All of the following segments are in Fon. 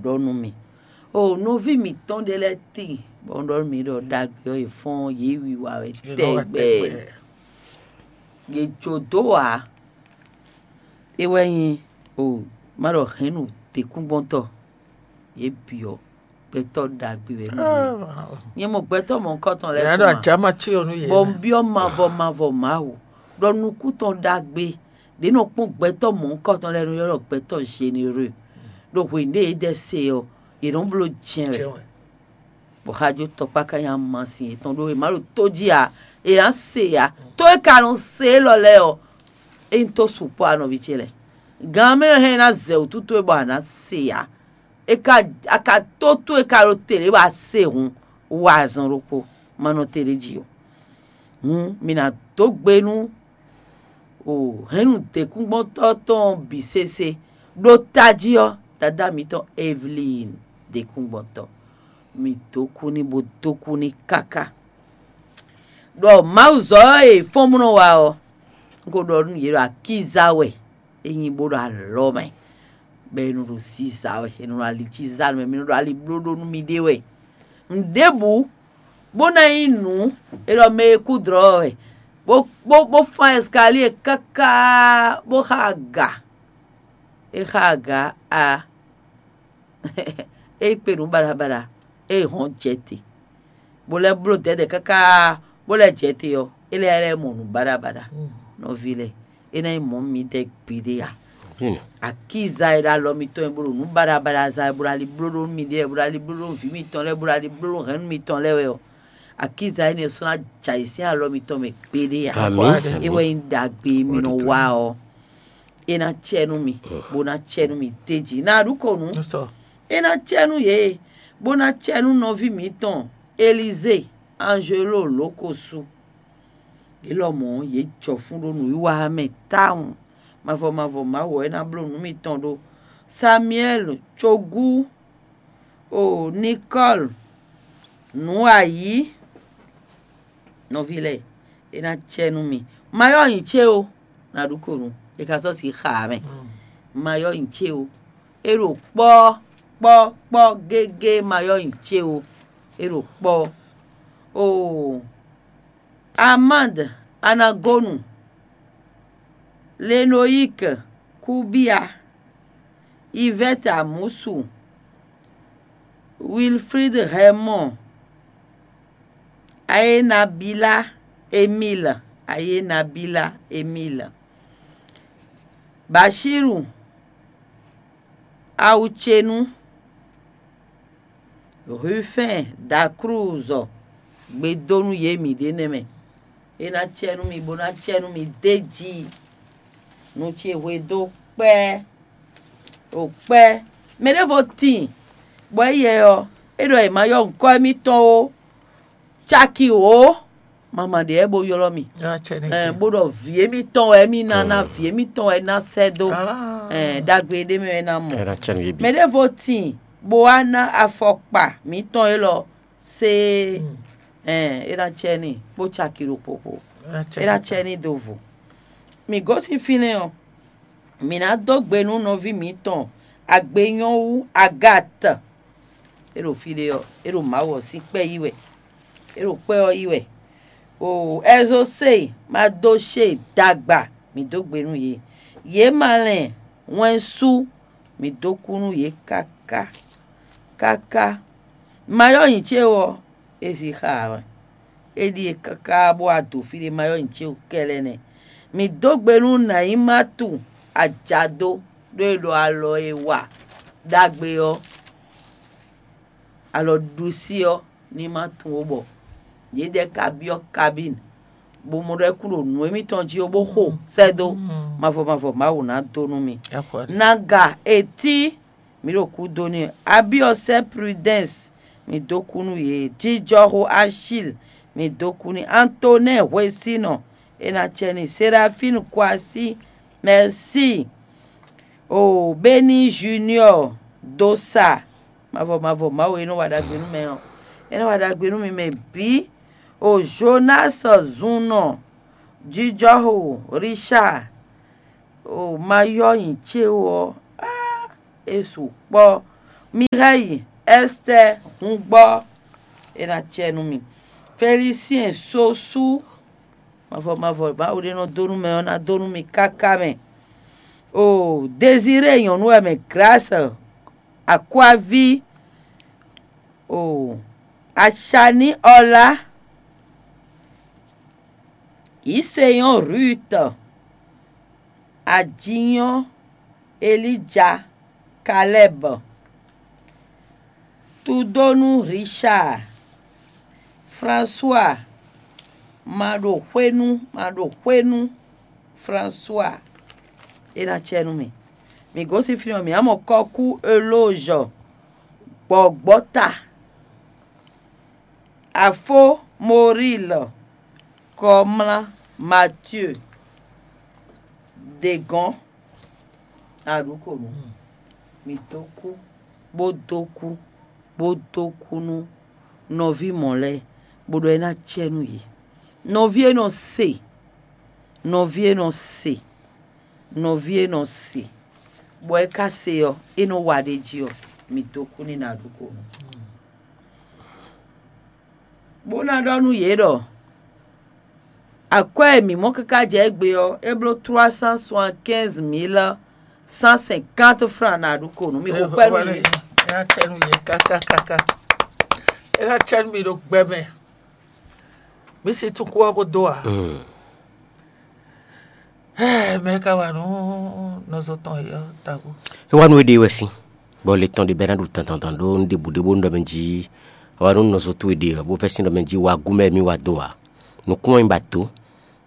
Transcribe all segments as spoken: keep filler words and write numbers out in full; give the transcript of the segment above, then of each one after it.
ɖɔ nú mì. O nɔví mǐtɔn ɖé lɛ́ɛ tíin, bɔ un ɖɔ nú mì ɖɔ ɖagbe ɔ́, è fɔ́n yě wiwa wɛ tɛgbɛ. Yě jǒ dó ǎ. É wɛ nyí o má ɖɔ hɛ̌nnu děkúngbɔ́ntɔ́, yě bǐ ɔ́, gbɛtɔ́ ɖagbe wɛ nú yě. Nyɛ mɔ gbɛtɔ́ mɔ̌hunkɔtɔn lɛ́ɛ Yǎ ɖo kún ǎ. Ajǎ ma cí ɔ́ nú yě. Bɔ un byɔ́ mavɔ mavɔ Mawu ɖɔ nukún tɔn ɖagbe ɖě nɔ kpɔ́n gbɛtɔ́ mɔ̌hunkɔtɔn lɛ́ɛ nú yɔ́ ɖɔ gbɛtɔ́ Généreux, ɖo hwenu ɖé yě ɖɛ se ɔ́, yě nɔ bló jɛ́n wɛ. Jɛ́n wɛ. Bɔ xajótɔ́ kpá ka nyi amasin yětɔn ɖó è má ɖo tó jí ǎ, è nǎ se ǎ. Tó e ka nɔ se élɔ́ lɛ́ɛ ɔ́, é nyí tó sukpɔ́ ǎ nɔví ce lɛ́ɛ. Gan mɛ ɔ́ hɛn ná zɛ wǔtu towe bɔ a nǎ se ǎ. È ka a ka tó towe ka ɖo te lě bɔ a se hǔn, wa azɔn ɖokpó, ma nɔ te ɖ'é jí ó. Hǔn mi ná dó gbe nú o hɛ̌nnu děkúngbɔ́ntɔ́ tɔn ɔ́ bǐ sésé. Ɖó tají ɔ́, dadá mǐtɔn Evelyn děkúngbɔ́ntɔ́, mǐ dó kú n'i bó dó kú n'i káká. Ɖɔ Mawuzɔ́ e fɔ́n mɔ nɔ wa ɔ́, un ko ɖɔ nú yě ɖɔ akíza wɛ é nyí bó ɖo alɔ mɛ, bɔ è nɔ ɖo ziza wɛ, è nɔ ɖo ali cí zá nú mɛ, mi nɔ ɖo ali bló ɖó nú miɖée wɛ. Nǔɖébǔ bó ná nyí nǔ e ɖɔ mɛ e kú dlɔ̌ wɛ, bó bó bó fán ɛskalíe káká bó xa aga. É xa aga a é kpe nǔ baɖabaɖa, é hɔn jɛ te, bó lɛ́ bló dɛ̌dɛ̌ káká bó lɛ́ jɛ te ɔ́, é lɛ́ lɛ́ mɔ nǔ baɖabaɖa. Nɔví lɛ́ɛ, é ná nyí mɔ̌ midɛɛ gbeɖé ǎ. Akíza e ɖo alɔ mitɔn e bó ɖo nǔ baɖabaɖa za wɛ, bó ɖo ali bló ɖó nú miɖée wɛ, bó ɖo ali bló ɖó nú vǐ mitɔn lɛ́ɛ, bó ɖo ali bló ɖó hɛ̌nnu mitɔn lɛ́ɛ wɛ ɔ́, akíza énɛ́ sɔ́ ná jɛ ayǐ sín alɔ mitɔn mɛ gbeɖé ǎ. Amǐ. É wɛ nyí ɖagbe e mi nɔ wa ɔ́, é ná cɛ nú mi, bó ná cɛ nú mi d'é jí. Ná ɖu ko nǔ. É ná cɛ nú yě, bó ná cɛ nú nɔví mǐtɔn Elizée Anjelo Lǒkosu. Yě lɔmɔ̌ yě jɔ fún ɖó nǔwiwa ɔ́ mɛ tawun. Mavɔ mavɔ Mawu ɔ́ é ná bló nǔ mitɔn ɖó. Samuɛ́li cogú o Nikɔ́li nǔ ayǐ. Nɔví lɛ́ɛ, é ná cɛ nú mi. Ma yɔ́ nyi ce ó, ná ɖu ko nú è ka sɔ́ si xa ǎ mɛ. Ma yɔ́ nyi ce ó, é ɖo kpɔ́ kpɔ́ kpɔ́ gégé, ma yɔ́ nyi ce ó, é ɖo kpɔ́. Oo, Amande Anagonu, Lenoyik Kubia, Ivɛ́te Amusu, Wilfrid Hɛmɔn, Ayenabila Emil, Ayenabila Emil, Bashiru Awucenu, Rufɛ́n Daklúzɔ, gbedónú yě mǐ ɖe nɛ́ mɛ. É ná cɛ nú mi, bó ná cɛ nú mi d'é jí. Nu ce hwe dó kpɛ́, ɖo kpɛ́. Mɛ ɖěvo tíin, bɔ é yɛ ɔ́, é ɖɔ è ma yɔ nyǐkɔ émítɔn ó, caki wǒ, mama ɖě wɛ bó ylɔ́ mì. Ɛɛ, bó ɖɔ vǐ émítɔn wɛ émí ná ná, vǐ émítɔn wɛ é ná sɛ́ dó. Ɛɛ, ɖagbe ɖé mɛ wɛ é ná mɔ. Mɛ ɖěvo tíin, bó wá ná afɔkpa mǐtɔn élɔ́, séé. Ɛɛ, é ná cɛ n'i kpó caki ɖokpó kpó. É ná cɛ n'i do vo. Mǐ gosín fínɛ́ ɔ́, mǐ ná dó gbe nú nɔví mǐtɔn agbe nyɔ́ wú Agat. É ɖo fí ɖé ɔ́, é ɖo Mawu ɔ́ sín kpɛ́ yí wɛ. É ɖo kpɛ́ ɔ́ yí wɛ. O Ɛzosée Madoshée dagba, mǐ dó gbe nú yě. Yě ma lɛn wɛn sú, mǐ dó kú nú yě káká. Káká. Mayɔ́ nyi ce ɔ́, é zi xa ǎ wɛ. É ɖíe káká bó wá do fí ɖé, Mayɔ́ nyi ce kɛ́lɛ́ nɛ́. Mǐ dó gbe nú Nayimatu ajado ɖó é ɖɔ alɔ e wa ɖagbe ɔ́, alɔ ɖusí ɔ́ ní ma tunwun ó bɔ yědɛɛ ka byɔ́ kabín, bó mɔ ɖɔ é kún ɖo nǔ émítɔn jí ó bó xo sɛ́ dó. Mavɔ mavɔ Mawu ná dó nú mi. Naga etí, mǐ ɖo kúdó n'i. Abiɔsɛ Prudɛ́ns, mǐ dó kú nú yě. Jijɔxo Achil, mǐ dó kú n'i. Antonɛ́ɛ hwesínɔ, é ná cɛ n'i. Serafínu Kwasí, mɛ̌si. O Beni Junior Dosa, mavɔ mavɔ Mawu e nɔ wa ɖagbe nú mɛ ɔ́, é nɔ wa ɖagbe nú mi mɛ bǐ. O Jonas Zunnɔ, jijɔxo Richard, o ma yɔ nyi ce ó ɔ́, á, é sukpɔ́. Mireille Esther Hungbɔ, é ná cɛ nú mi. Félicien Sosu, mavɔ mavɔ Mawu ɖé nɔ dó nú mɛ ɔ́ ná dó nú mi káká mɛ. O Désiré nyɔ̌nu wɛ mɛ Grâce Akwavi, o Achani Ɔlá, Isenyɔ́ Ruth, Ajinyɔ́ Elija Kalɛ́b, Tudónú Richard, François, ma ɖo xwénú, ma ɖo xwénú, François, é ná cɛ nú mi. Mi gosín fínɛ́ ɔ́, mǐ ná mɔ kɔ́kú Elózɔ, gbɔ̌gbɔ́ta, Afó Moríl, Kɔmlá Matyeu, Degɔ́n, Aɖǔkonu. Mi dó kú, bó dó kú, bó dó kú nú nɔví mɔ̌ lɛ́ɛ, bó ɖɔ é ná cɛ nú yě. Nɔví e nɔ se, nɔví e nɔ se, nɔví e nɔ se, bɔ é ka se ɔ́, é nɔ wa ɖ'é jí ɔ́, mi dó kú n'i nɔ Aɖǔkonu. Bó ná ɖɔ nú yě ɖɔ: Akwɛ́ e mǐ mɔ káká jɛ égbé ɔ́, é bló trois cent soixante-quinze mille cent cinquante francs nɔ Aɖǔkonu. Mi xo kwɛ́ nú yě. É ná cɛ nú yě káká káká. É ná cɛ nú mi ɖo gbɛ mɛ. Mǐ si tún kú ɔ́ bó dó ǎ. Mɛ e ka wa nǔ nɔzo tɔn e ɔ́ tabu. É wá nú éɖée wɛ sín, bɔ le tɔn ɖé bɛ́ ná ɖu dandandan ɖó nǔ ɖěbǔ ɖé bónú ɖɔ mɛ jí é wá nú nɔzo towe ɖe ɔ́, bó vɛ́ sín ɖɔ mɛ jí wá gú mɛ mì wá dó ǎ. Nǔkún ɔ́ nyí ba dǒ,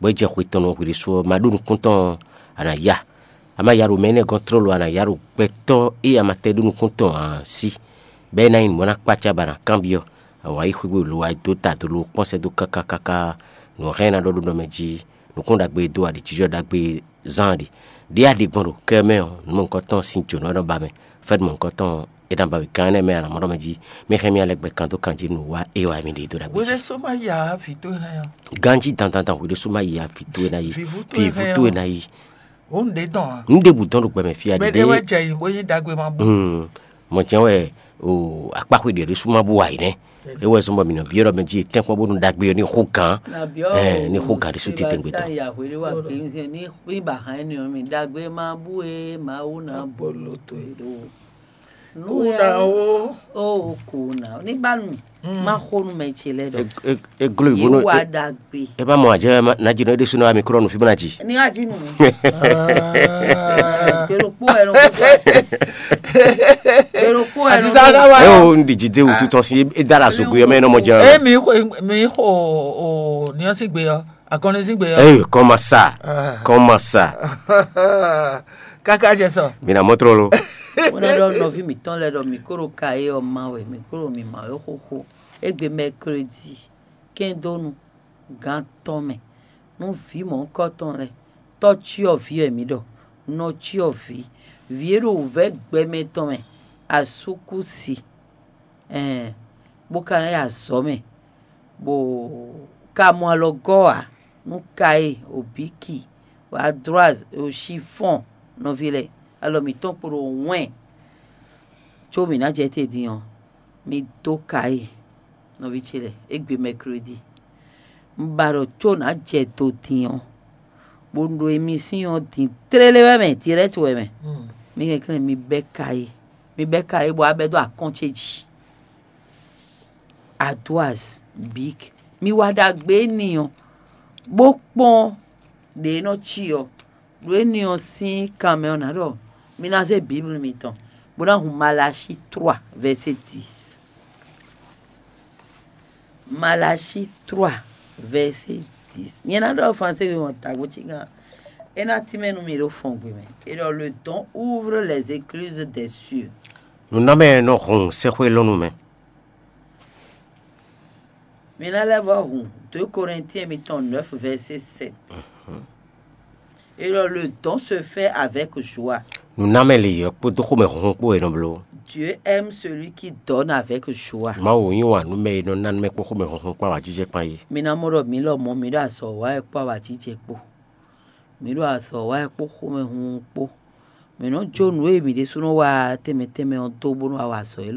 bɔ é jɛ xwe tɔn nú hwi ɖésú ɔ́, ma ɖó nukún tɔn ɔ́, a nǎ ya. A ma ya ɖo mɛ énɛ́ gɔ́n tlóló, a nǎ ya ɖo gbɛtɔ́ e a ma tɛ́ ɖó nukún tɔn ǎ sí, bɔ é ná nyí nǔ bó ná kpácá bɔ a nǎ kanbyɔ́. Awǎ yi xwígbe lo wá dó ta do lo kpɔ́n sɛ́ dó káká káká, nǔ hɛn ná ɖɔ ɖó nɔ mɛ jí, nǔkún ɖagbe e dó aɖǐjínjɔ́n ɖagbe zán ɖe. Ɖě a ɖe gbɔn ɖo kɛ mɛ ɔ́, nǔ mɔ̌hunkɔtɔn sín jǒnɔ nɔ ba mɛ, fɛ́nú mɔ̌hunkɔtɔn é ná ba mì gán énɛ́ mɛ a nǎ mɔ ɖɔ mɛ jí, mɛ hɛn mì alɛ gbɛ kan dó kan jí nǔ wa é wá mì ɖe dó ɖagbe jí. Hweɖésó má ya vǐ towe hɛn ɔ́. Ganjí dandandan hweɖésó má yi a vǐ towe ná yi. Vǐvú towe Vǐvú hɛn towe ɔ́. Ná yi. Ó ń ɖe tɔn ǎ. Nǔ ɖěbǔ dɔn ɖo gbɛmɛ fí a Mɛ ɖé wɛ ɖiɖe. Jɛ yǐ bó nyí ɖagbe ma bú. Mɔ jɛn wɛ o akpáxwe ɖě ɖésú ma bú wa yi nɛ́. É wɛ zɔn bɔ mǐ nɔ byɔ́ ɖɔ mɛ jí tɛ́nkpɔ́n bónú ɖagbe ɔ́ ní xó gǎn. Ɛ, ní xó gǎn ɖésú titewungbe tɔn. Ní ní ba hàn ní ɔ́ mi ɖagbe ma bú e Mawu ná bolo to e ɖo. Kúna o. O kúna. Ní ba nu. Má xó nu mɛ ce lɛ ɖɔ. Eglo Yé ibo nɔ wa ɖagbe. E ma mɔ adze na dzi nɔ eɖe sunu ami krɔ nu fi bena dzi. Ní wá jí nu. Gbèròkpó ẹ lọ. Gbèròkpó ẹ lọ. Aziza na wa. E o ndi dzi de wutu tɔn si e da la zogo yɔ mɛ nɔ mɔ dze. E mi xo mi xo o niɔsi gbe yɔ akɔni si gbe yɔ. E kɔma sa. Kɔma sa. Kaka jɛ sɔ. Mina mɔtrɔ lo. Wọ́n ɖɔ nɔví mǐtɔn lɛ́ɛ ɖɔ mǐ kó ɖo ka é ɔ́ ma wɛ, mǐ kó ɖo mǐ ma wɛ xóxó. Égbé mɛkredi kɛ́ndónu gán tɔn mɛ, nú vǐ mɔ̌hunkɔtɔn lɛ́ɛ, tɔ́ cyɔ́vǐ wɛ mǐ ɖɔ, nɔ cyɔ́vǐ, vǐ e ɖo wǔvɛ́ gbɛmɛ tɔn mɛ, asúkúsi, ɛn, bó ka ná yi azɔ̌ mɛ, bó ka mɔ alɔgɔ́ ǎ, nú Kayi, Obíki, Adroaz, Oshifɔ́n, nɔví lɛ́ɛ, alɔ mǐtɔn kpo ɖo wɛn, có mǐ ná jɛ te din ɔ́, mi dó Kayi, nɔví ce lɛ́ɛ, égbé mɛkredi. Un ba ɖɔ có nǎ jɛ do din ɔ́, bó ɖo emisín ɔ́ din tlélé wɛ mɛ, dirɛ́ti wɛ mɛ. Mi kɛnklɛ́n mi bɛ́ Kayi, mi bɛ́ Kayi bɔ a bɛ́ dó akɔ́n ce jí. Adoaz, Bik, mi wa ɖagbe n'i ɔ́, bó kpɔ́n ɖě e nɔ cí ɔ́, ɖo énɛ́ ɔ́ sín kan mɛ ɔ́, nǎ ɖɔ mi ná zé Biblu mitɔn, bó ná hun Malashi trois, verset dix. Malashi trois, verset dix. Nyɛ ná ɖɔ Fransé we wɔn tagbó cí gán. É ná tínmɛ nú mi ɖo fɔngbe mɛ. Et dans le temps ouvre les écluses des cieux. Nunamɛ nɔ hun sɛxwé lɔnu mɛ. Mi ná lɛ́ vɔ́ hun deux Corinthiens mitɔn neuf, verset sept. Et alors, le don se fait avec joie. Nunamɛ lě ɔ́ kpódó xomɛhunhun kpó wɛ è nɔ bló. Dieu aime celui qui donne avec joie. Mawu yí wǎn nú mɛ e nɔ ná nú mɛ kpó xomɛhunhun kpó awǎjijɛ kpán é. Mi ná mɔ ɖɔ mǐ lɔmɔ̌ mǐ ɖo azɔ̌ wa wɛ kpó awǎjijɛ kpó. Mǐ ɖo azɔ̌ wa wɛ kpó xomɛhunhun kpó. Mǐ nɔ́ jó nǔ e mǐ ɖésúnɔ wa tɛnmɛ tɛnmɛ ɔ́ dó bó nɔ́ wá wa azɔ̌ élɔ́.